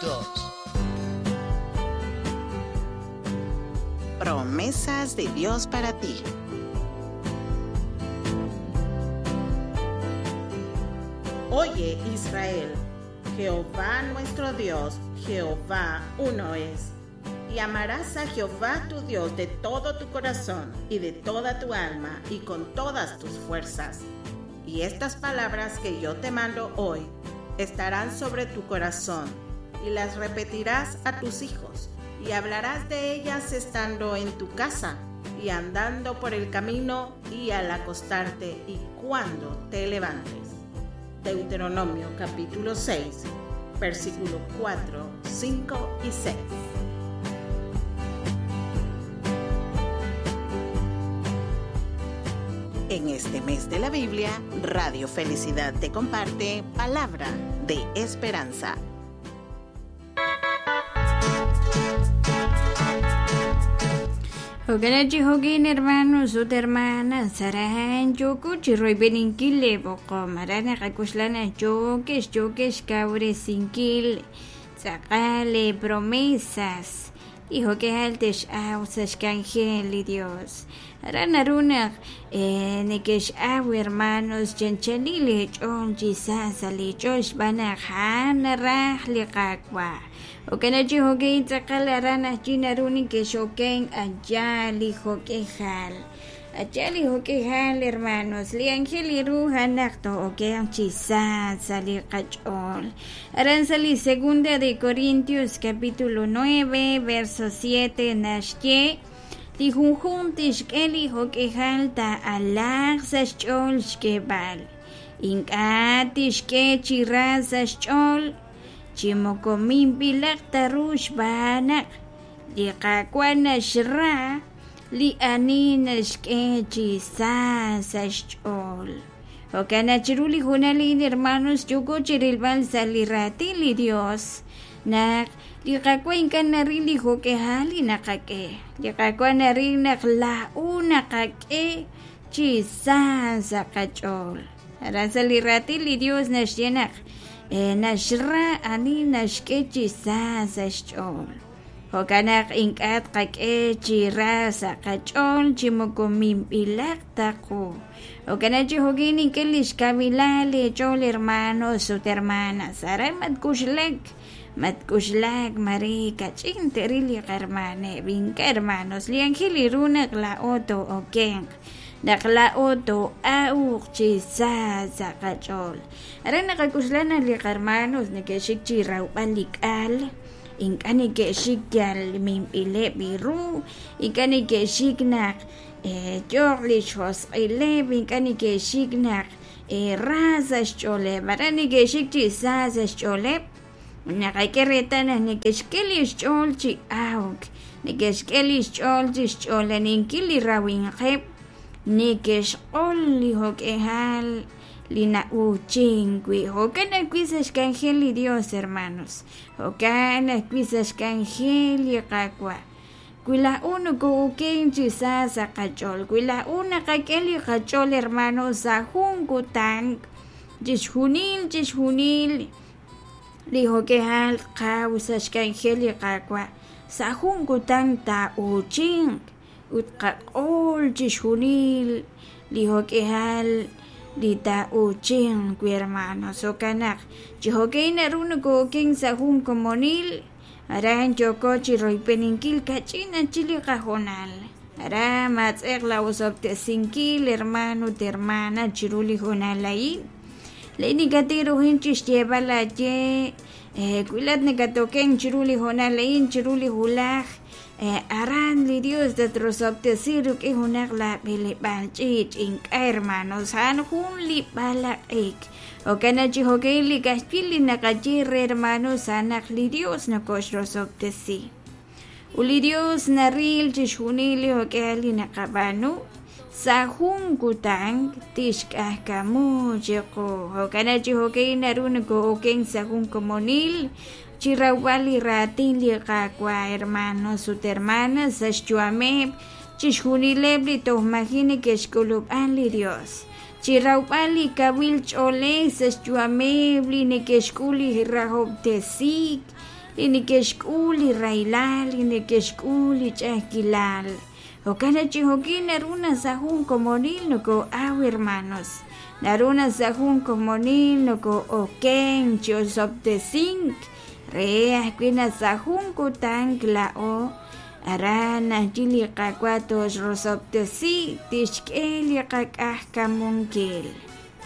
2. Promesas de Dios para ti. Oye Israel, Jehová nuestro Dios, Jehová uno es. Y amarás a Jehová tu Dios de todo tu corazón y de toda tu alma y con todas tus fuerzas. Y estas palabras que yo te mando hoy estarán sobre tu corazón y las repetirás a tus hijos y hablarás de ellas estando en tu casa y andando por el camino y al acostarte y cuando te levantes. Deuteronomio capítulo 6, versículo 4, 5 y 6. En este mes de la Biblia, Radio Felicidad te comparte palabra de esperanza. Hoganachi hogin hermanos ut hermanas saran yokuchi roybeninkile boqom arana qakushlana yokex yokex kawresinkil tz'aqal promesas y hokejal tex aw sa xk'anjel li Dios aran naru naq nekex-aw hermanos chanchanil li ch'ool chi sa' sa' li ch'ool xb'aan naq ja'an naraj li Qaawa' Jo'kan chi jo'kan tz'aqal aran ajwi' naru nekex'oken allá li jo'k'ejal allá li jo'k'ejal hermanos li ángel li ru a'an naq too'okenq chi sa' sa' li qach'ool aran sa' li segunda de Corintios capítulo 9 verso 7 naxye li junjunq tixk'e li jo'k'ejal taa'alaaq sa' xch'ool xk'eeb'al ink'a' tixk'e chi ra sa' xch'ool chi moko minb'ilaq ta ru xb'aan naq li Qaawa' naxra li ani naxk'e chi sa sa' xch'ool. Jo'kan naq chiru li hoonal a'in hermanos yooko chi rilb'al sa' li raatin li Dios naq li Qaawa' ink'a' naril li jo'k'ihal li naqak'e. Li Qaawa' naril naq laa'o naqak'e chi sa sa' qach'ool. Aran sa' li raatin li Dios naxye naq naxra ani naxk'e chi sa sa' xch'ool. Jo'kan naq ink'a' tqak'e chi ra sa' qach'ool chi moko minb'ilaq ta qu. Jo'kan naq chi jo'kin nink'e lix kawilal eech'ool hermanos ut hermanas. Aran matkuxlak, matkuxlak mare kach'in te'ril li qahermaneb'. Ink'a' hermanos, li anjel li ru naq laa'o too'okenq, naq laa'o too'awq chi sa sa' qach'ool. Aran naqak'uxla naq li qahermanos neke'xik chi rawb'al li k'al, ink'a' neke'xik yal minb'ileb' ru, ink'a' neke'xik naq yooq li xjosq'ileb', ink'a' neke'xik naq ra sa' xch'ooleb', aran neke'xik chi sa sa' xch'ooleb'. Naqak'e reetal naq neke'xk'e li xch'ool chi awk, neke'xk'e li xch'ool chi xch'oolaninkil li rawinqeb', neke'xq'ol li jo'k'ejal li na'uuchink wi'. Jo'kan ajwi' sa' xk'anjel li Dios, hermanos. Jo'kan ajwi' sa' xk'anjel li Qaawa'. Wi laa'o nokoo'oken chi sa sa' qach'ool, wi laa'o naqak'e li qach'ool, hermanos, sa' jun kutan, chixjunil, chixjunil li jo'k'ejal qaw sa' xk'anjel li Qaawa', sa' jun kutan taa'uuchinq ut qaq'ol chixjunil li jo'k'ejal li taa'uuchinq wi hermanos. Jo'kan naq chi jo'k'in naru nokoo'oken sa' jun komonil, aran yooko chi royb'eninkil kach'in achil li qahoonal. Aran maatz'eq la osob'tesinkil hermano ut hermana chiru li hoonal a'in. Laa'in nikatiruhin chi xyeeb'al aaye wi laat nakatoken chiru li hoonal a'in chiru li wulaj aran li Dios tatrosob'tesi rik'in junaq laab'eleb'aal ch'iich' ink'a' hermanos a'an jun li b'alaq'ik. Jo'kan naq chi jo'kan li k'axtil li naqaye re hermanos a'an naq li Dios nokoxrosob'tesi. Ut li Dios naril chixjunil li jo'k'ihal li naqab'aanu sa' jun kutan tixk'ajkamu chiqu. Jo'kan naq chi jo'kan naru nokoo'oken sa' jun komonil chi rawb'al li raatin li Qaawa' hermanos ut hermanas sa' xyu'ameb' chixjunileb' li toj maji' neke'xk'ulub'an li Dios. Chi rawb'al li kawil ch'oolej sa' xyu'ameb' li neke'xk'ul li rahob'tesiik, li neke'xk'ul li rahilal, li neke'xk'ul li ch'a'ajkilal. Jo'kan naq chi jo'kin naru naq sa' jun komonil noko'aw, hermanos. Naru naq sa' jun komonil noko'oken chi osob'tesink re ajwi' naq sa' jun kutan laa'o aran ajwi' li Qaawa' toxrosob'tesi, tixk'e li qak'ajkamunkil.